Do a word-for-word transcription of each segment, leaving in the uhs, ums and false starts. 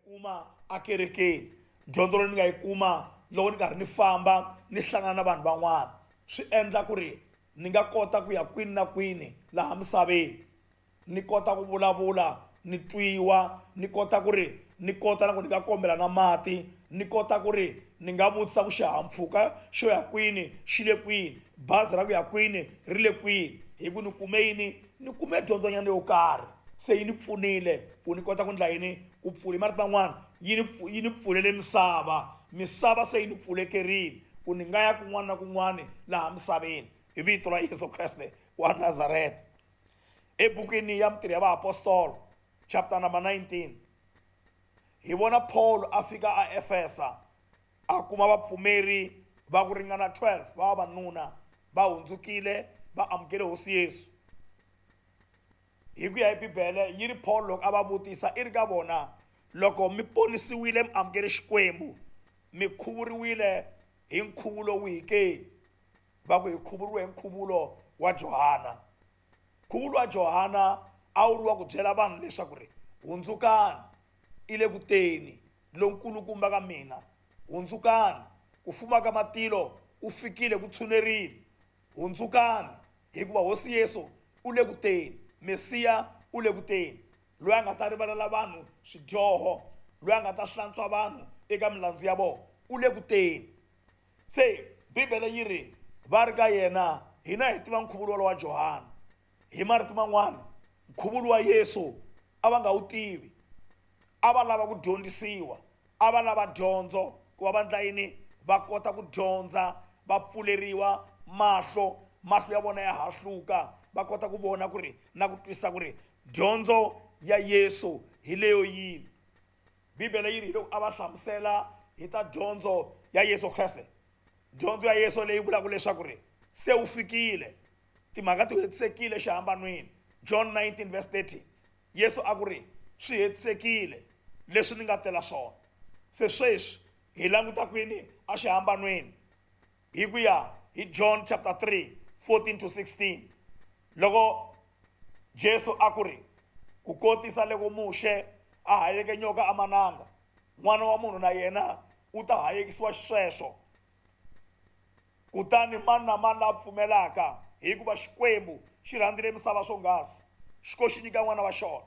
kuma akerekeni, dyondzo leyi ni nga yi kuma loko ni karhi ni famba ni hlangana na vanhu van'wana, swi endla ku ri ni nga kota ku ya kwini na kwini laha misaveni, ni kota ku vulavula ni twiwa, ni kota ku ri ni kota na ku ni nga kombela na mati, ni kota ku ri ni nga vutisa ku xihahampfhuka xo ya kwini xi le kwini, bazi ra ku ya kwini ri le kwini, hi ku ni kume yini, ni kume dyondzonyana yo karhi. Se yi ni pfunile ku ni kota ku ndla yini, ku pfula marito man'wana yi ni yi ni pfulele misava, misava se yi ni pfulekerile ku ni nga ya kun'wana na kun'wana laha misaveni hi vito ra Yesu Kreste wa Nazareta. Ebukwini ya Mintirho ya Vaapostolo chapter number nineteen hi vona Paul a fika a Efesa a kuma vapfumeri va ku ringana twelve va vavanuna va hundzukile va amukele Hosi Yesu. Hi ku ya hi Bibele yi ri Paul loko a va vutisa i ri ka vona, loko mi ponisiwile mi amukele Xikwembu, mi khuvuriwile hi nkhuvulo wihi ke? Va ku hi khuvuriwe hi nkhuvulo wa Johana. Nkhuvulo wa Johana a wu ri wa ku byela vanhu leswaku ri hundzukani, i le ku teni lonkulukumba ka mina, hundzukani, ku fuma ka matilo ku fikile, ku tshunerile, hundzukani hikuva Hosi Yesu u le ku teni, Mesiya u le ku teni, loyi a nga ta rivalela vanhu swidyoho, loyi a nga ta hlantswa vanhu eka milandzu ya vona, u le ku teni. Se Bibele yi ri va ri ka yena, hina hi tiva nkhuvulo wa Johana. Hi marito man'wana, nkhuvulo wa Yesu a va nga wu tivi, a va lava ku dyondzisiwa, a va lava dyondzo ku va va ndla yini, va kota ku dyondza, va pfuleriwa mahlo, mahlo ya vona ya hahluka, va kota ku vona ku ri na ku twisisa ku ri dyondzo ya Yesu hi leyo yini. Bibele yi ri hi loko a va hlamusela hi ta dyondzo ya Yesu Kreste, dyondzo ya Yesu leyi vulaka leswaku ri se wu fikile, timhaka ti hetisekile xihambanweni. John nineteen verse thirty, Yesu a ku ri swi hetisekile leswi ni nga tela swona. Se sweswi hi languta kwini a xihambanweni? Hi ku ya hi John chapter three fourteen to sixteen, loko Jesu a ku ri ku kotisa loko Muxe a hayeke nyoka amananga, n'wana wa munhu na yena u ta hayekisiwa xisweswo, kutani mani na mani la pfumelaka, hikuva Xikwembu xi rhandzile misava swonghasi, xi ko xi nyika n'wana wa xona,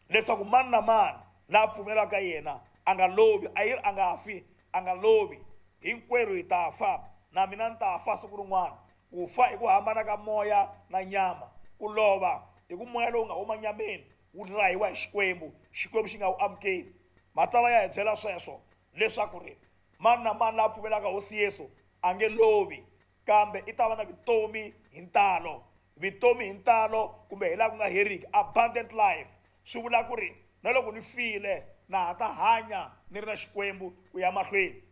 leswaku mani na mani la pfumelaka yena a nga lovi, a yi ri a nga fi, a nga lovi, hinkwerhu hi ta fa, na mina ni ta fa siku rin'wana. Ku fa i ku hambana ka moya na nyama, ku lova i ku moya lowu nga huma nyameni wu rahiwa hi Xikwembu, Xikwembu xi nga wu amukeli. Matsalwa ya hi byela sweswo leswaku ri mani na mani la pfumelaka Hosi Yesu a nge lovi, kambe i ta va na vutomi hi ntalo, vutomi hi ntalo kumbe hi laha ku nga heriki, abundant life. Swi vula ku ri na loko ni file na ha ta hanya ni ri na Xikwembu ku ya mahlweni,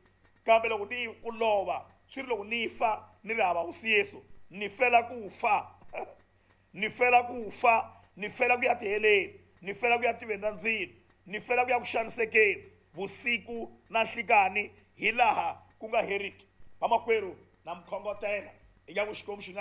kambe loko ni ku lova swi ri loko ni fa ni ri hava Hosi Yesu, ni fela ku fa, ni fela ku fa, ni fela ku ya tiheleni, ni fela ku ya tiveni ra ndzilo, ni fela ku ya ku xanisekeni vusiku na nhlikani hi laha ku nga heriki. Vamakwerhu, na mi khongotela ingaku Xikwembu xi nga